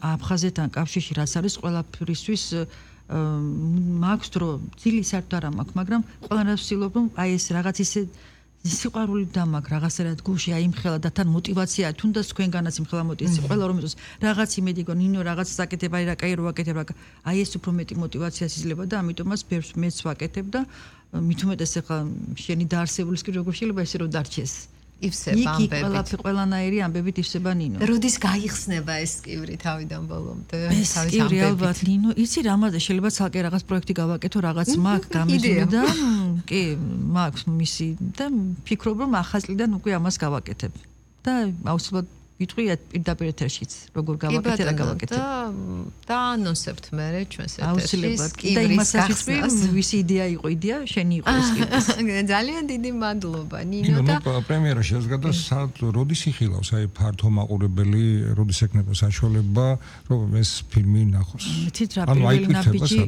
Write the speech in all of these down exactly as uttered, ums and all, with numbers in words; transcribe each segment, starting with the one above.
აფხაზეთთან კავშირში რაც არის ყველაფრისთვის მაქვს დრო ძილი საერთოდ არ მაქვს, მაგრამ ყველანაირად ვცდილობ რომ აი ეს რაღაც ისე სიყვარული დამაქვს რაღაცერად გულში აიმხელა და თან მოტივაცია თუნდაც თქვენგანაც იმხელა მოტივაცია ყველა რომ იცოს რაღაც იმედი გონ ნინო რაღაც საკეთებ აი რა კაი რო ვაკეთებ რა აი ეს უფრო მეტი მოტივაციას იძლევა და ამიტომაც ბევრს მეც ვაკეთებ და მით უმეტეს ახლა შენი დაარსებულის კი როგორ შეიძლება ესე რომ დარჩეს ივსება ამბებით. იქ ყველანაირი ამბებით ივსება ნინო. როდის გაიხსნება ეს კივრი თავიდან ბოლომდე? ეს კივრი ალბათ ნინო, იცი რამაზე შეიძლება ცალკე რაღაც პროექტი გავაკეთო, რაღაც მაგ გამიზული და კი, მაქვს მისი და ფიქრობ რომ ახალ წლიდან უკვე ამას გავაკეთებ. და აუცილებლად ვიტყვი პირდაპირ ეთერშიც, როგორ გავაკეთე და გავაკეთე. და და ანონსებთ მე ჩვენს ეთერში. აუცილებლად და იმასაც ვიტყვი, ვისი იდეა იყო იდეა, შენი იყო ეს კივრი. ძალიან დიდი მადლობა ნინო და პრემიერა შეზღადა სად როდის იხილავს აი ფართო მაყურებელი, როდის ექნება საშუალება რომ ეს ფილმი ნახოს. მეთით რა პირველი ნაბიჯი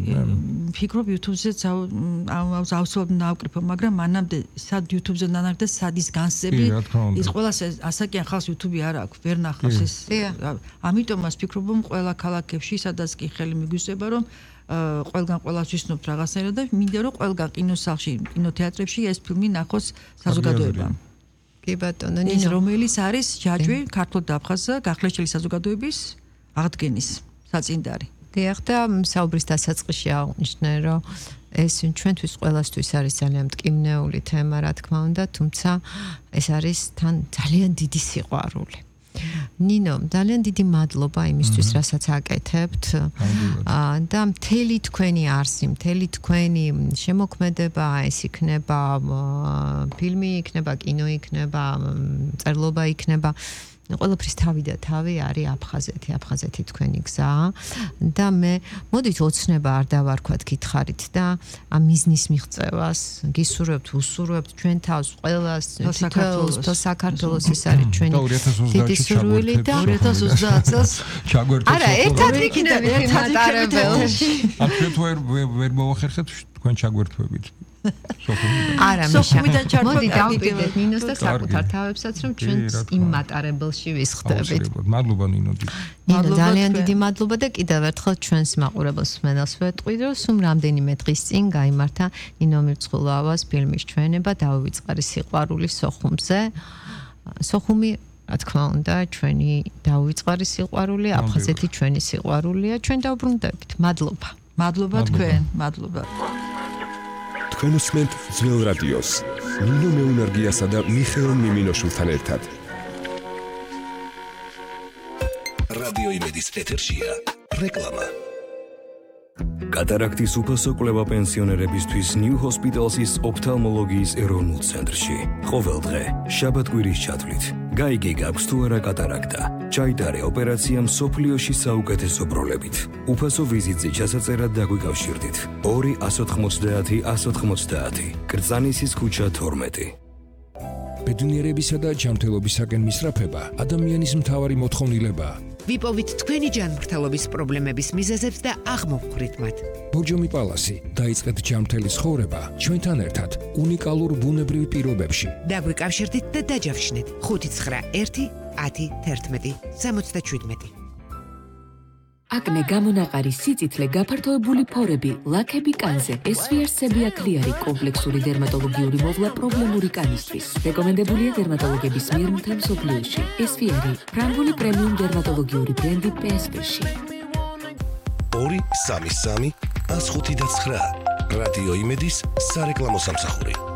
ფიქრობ YouTube-ზეც აუცილებლად ნავკრიფო, მაგრამ მანამდე სად YouTube-ზე ნანახდა სად ის განსები ის ყველას ასაკიან ხალხს YouTube-ი არ აქვს ვერ ნახავს ეს. ამიტომაც ვფიქრობ რომ ყველა ქალაქებში სადაც კი ხელი მიგვიწევა რომ ყველგან ყველას ვისნობთ რაღაცნაირად და მინდა რომ ყველგან კინოსახლში, კინოთეატრებში ეს ფილმი ნახოს საზოგადოებამ. კი ბატონო, ნინო რომელიც არის ჯაჭვი ქართულ და აფხაზ გახლეჩილი საზოგადოების აღდგენის საწინდარი. დიახ და საუბრის დასაწყისში აღნიშნე რომ ეს ჩვენთვის ყველასთვის არის ძალიან მტკივნეული თემა რა თქმა უნდა, თუმცა ეს არის თან ძალიან დიდი სიყვარული. ნინო, ძალიან დიდი მადლობა იმისთვის, რასაც აკეთებთ. და მთელი თქვენი არსი, მთელი თქვენი შემოქმედება, ეს იქნება ფილმი, იქნება კინო, იქნება წერლობა, იქნება ყველაფრის თავი და თავი არის აფხაზეთი, აფხაზეთი თქვენი გზა და მე მოდით ოცნება არ დავარქვათ გითხარით და ამ მიზნის მიღწევას გისურვებთ, უსურვებთ ჩვენ თავს ყველას საქართველოს, საქართველოს ეს არის ჩვენი დიდი სურვილი და ორი ათას ოცდაათ წელს ჩაგვერთოთ. არა, ერთად ვიქნებით მატარებელში. აქ ჩვენ ვერ მოვახერხებთ თქვენ ჩაგვერთვებით. არა მიშა მოდი დავყიდეთ ნინოს და საკუთარ თავებსაც რომ ჩვენ იმ მატარებელში ვისხდებით. მადლობა ნინო. ნინო ძალიან დიდი მადლობა და კიდევ ერთხელ ჩვენს მაყურებელს მსმენელს ვეტყვი რომ სულ რამდენიმე დღის წინ გაიმართა ნინო მირცხულავას ფილმის ჩვენება დავივიწყარი სიყვარული სოხუმზე. სოხუმი რა თქმა უნდა ჩვენი დავივიწყარი სიყვარული, აფხაზეთი ჩვენი სიყვარულია, ჩვენ დავბრუნდებით. მადლობა. მადლობა თქვენ, მადლობა. თქვენ უსმენთ ძველ რადიოს ნინო მეუნარგიასა და მიხეილ მიმინოშვილთან ერთად. რადიო იმედის ეთერშია რეკლამა. კატარაქტის უფასო კვლევა პენსიონერებისთვის New Hospital's ოფთალმოლოგიის ეროვნულ ცენტრში. ყოველ დღე შაბათ-კვირის ჩათვლით გაიგე გაქვს თუ არა კატარაქტა. ჩაიტარე ოპერაცია მსოფლიოში საუკეთესო ბროლებით. უფასო ვიზიტზე ჩასაწერად დაგვიკავშირდით. ორი ათას ოცდაათი ათას ოცდაათი კრწანისის ქუჩა თორმეტი. ბედნიერებისა და ჯანმრთელობისაკენ მისწრაფება ადამიანის მთავარი მოთხოვნილებაა. ვიპოვით თქვენი ჯანმრთელობის პრობლემების მიზეზებს და აღმოვხვრით მათ. ბორჯომი პალასი, დაიწყეთ ჯანმრთელი ცხოვრება ჩვენთან ერთად უნიკალურ ბუნებრივ პირობებში. დაგვიკავშირდით და დაჯავშნეთ ხუთი ცხრა ერთი ათი თერთმეტი სამოცდაშვიდმეტი. აკნე გამონაყარი სიწითლე გაფართოებული ფორები ლაქები კანზე ესვიარსები აკლიარი კომპლექსური დერმატოლოგიური მოვლა პრობლემური კანისთვის რეკომენდებულია დერმატოლოგების მიერ მთელ მსოფლიოში ესვიარი ფრანგული პრემიუმ დერმატოლოგიური ბრენდი პი ეს პი-ში ორი სამი სამი ათს ხუთი და ცხრა რადიო იმედის სარეკლამო სამსახური.